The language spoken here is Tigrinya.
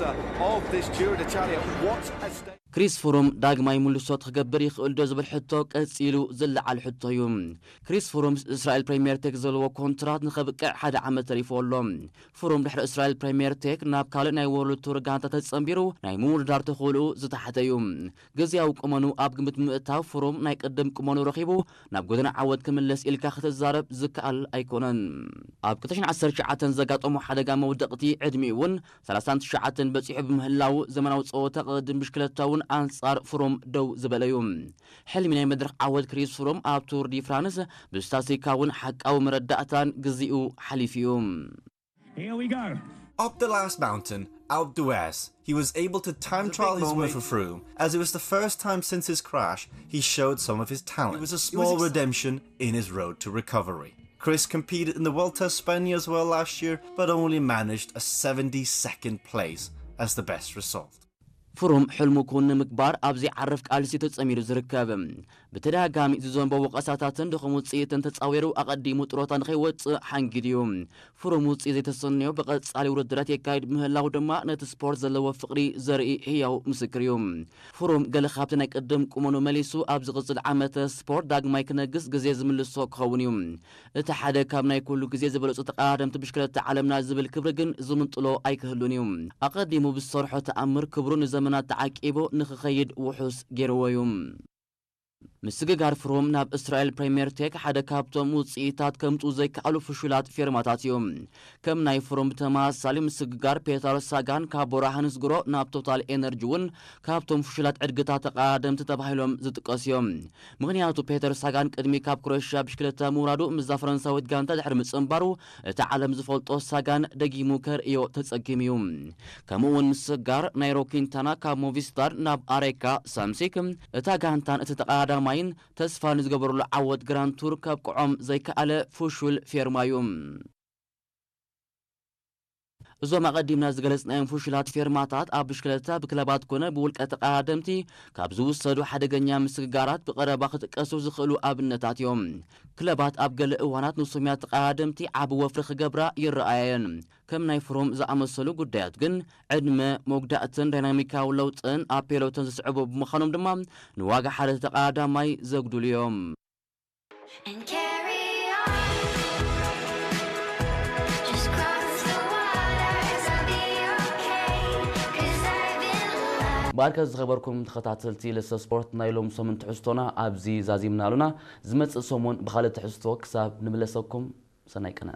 of this Giro d'Italia. What a stage. ክሪስ ፍሩም ዳግማይ ምልሶት ክገብር ይኽእል ዶ ዝብል ሕቶ ቀጺሉ ዝለዓል ሕቶ እዩ። ክሪስ ፍሩም ምስ እስራኤል ፕሪምየር ቴክ ዘለዎ ኮንትራት ንኸብቅዕ ሓደ ዓመት ተሪፎ ኣሎ። ፍሩም ድሕሪ እስራኤል ፕሪምየር ቴክ ናብ ካልእ ናይ ወርልድ ቱር ጋንታ ተጸንቢሩ ናይ ምውድዳር ተኽእልኡ ዝተሓተ እዩ። ግዜያዊ ቁመኑ ኣብ ግምት ብምእታው ፍሩም ናይ ቅድም ቁመኑ ረኺቡ ናብ ጎደና ዓወት ክምለስ ኢልካ ክትዛረብ ዝከኣል ኣይኮነን። ኣብ ክልተ ሽሕን ዓሰርተ ትሽዓተን ዘጋጠሞ ሓደጋ መውደቕቲ ዕድሚኡ እውን ሰላሳን ትሽዓተን በጺሑ ብምህላው ዘመናዊ ጸወታ ቅድድም ብሽክለታ እውን ኣንጻር ፍሩም ደው ዝበለ እዩ። ሕልሚ ናይ መድረኽ ዓወት ክሪስ ፍሩም ኣብ ቱር ዲ ፍራንስ ብስታስቲካ እውን ሓቃዊ መረዳእታን ግዜኡ ሓሊፉ እዩ። Here we go. Up the last mountain, Alpe d'Huez, he was able to time trial his way for Froome, as it was the first time since his crash he showed some of his talent. It was a small redemption in his road to recovery. Chris competed in the Vuelta a España as well last year, but only managed a seventy-second place as the best result. ፍሩም ሕልሙ ክውን ንምግባር ኣብ ዘይዓርፍ ቃልሲ ተጸሚዱ ዝርከብ። ብተደጋጋሚ ዝዘንቦ ወቐሳታትን ድኹም ውጽኢትን ተጻዊሩ ኣቐዲሙ ጥሮታ ንኸይወጽእ ሓንጊዱ እዩ። ፍሩም ውጽኢት ዘይተሰነዮ ብቐጻሊ ውድድራት የካይድ ምህላው ድማ ነቲ ስፖርት ዘለዎ ፍቕሪ ዘርኢ ህያው ምስክር እዩ። ፍሩም ገለ ካብቲ ናይ ቅድም ቁመኑ መሊሱ ኣብ ዝቕጽል ዓመተ ስፖርት ዳግማይ ክነግስ ግዜ ዝምልሶ ክኸውን እዩ። እቲ ሓደ ካብ ናይ ኩሉ ግዜ ዝበለጹ ተቐዳደምቲ ብሽክለታ ዓለምና ዝብል ክብሪ ግን ዝምንጥሎ ኣይክህሉን እዩ። ኣቐዲሙ ብዝሰርሖ ተኣምር ክብሩ ንዘመናት ተዓቂቡ ንኽኸይድ ውሑስ ገይርዎ እዩ። ምስግጋር ፍሩም ናብ እስራኤል ፕሪምየር ቴክ ሓደ ካብቶም ውጽኢታት ከምጽኡ ዘይከኣሉ ፍሹላት ፌርማታት እዩ። ከም ናይ ፍሩም ብተመሳሳሊ ምስግጋር ፔተር ሳጋን ካብ ቦራ ሃንስግሮ ናብ ቶታል ኤነርጂ እውን ካብቶም ፍሹላት ዕድግታት ተቐዳደምቲ ተባሂሎም ዝጥቀሱ እዮም። ምኽንያቱ ፔተር ሳጋን ቅድሚ ካብ ክሮኤሽያ ብሽክለታ ምውራዱ ምስዛ ፈረንሳዊት ጋንታ ድሕሪ ምጽንባሩ እቲ ዓለም ዝፈልጦ ሳጋን ደጊሙ ከርእዮ ተጸጊሙ እዩ። ከምኡ እውን ምስግጋር ናይሮ ኪንታና ካብ ሞቪስታር ናብ ኣሬካ ሳምሲክ እታ ጋንታን እቲ ተቐዳዳማይን ተስፋ ንዝገበረሉ ዓወት ግራንድ ቱር ከብቅዖም ዘይከኣለ ፍሹል ፌርማ እዩ። እዞም ኣቐዲምና ዝገለጽናዮም ፍሹላት ፌርማታት ኣብ ብሽክለታ ብክለባት ኮነ ብውልቀ ተቐዳደምቲ ካብ ዝውሰዱ ሓደገኛ ምስግጋራት ብቐረባ ክጥቀሱ ዝኽእሉ ኣብነታት እዮም። ክለባት ኣብ ገለ እዋናት ንሱምያት ተቐዳደምቲ ዓቢ ወፍሪ ክገብራ ይረኣየን። ከም ናይ ፍሩም ዝኣመሰሉ ጉዳያት ግን ዕድመ፣ መጉዳእትን ዳይናሚካዊ ለውጥን ኣብ ፔሎቶን ዝስዕቡ ብምዃኖም ድማ ንዋጋ ሓደ ተቐዳዳማይ ዘጉድሉ እዮም። And carry on. Just cross the waters, I'll be okay. Cause I've been loved. ባርከ ዝኸበርኩም ተኸታተልቲ ለሰ ስፖርት ናይ ሎም ሰሙን ትሕዝቶና ኣብዚ ዛዚምና ኣሉና። ዝመጽእ ሰሙን ብኻልእ ትሕዝቶ ክሳብ ንምለሰኩም ሰናይ ቅነ።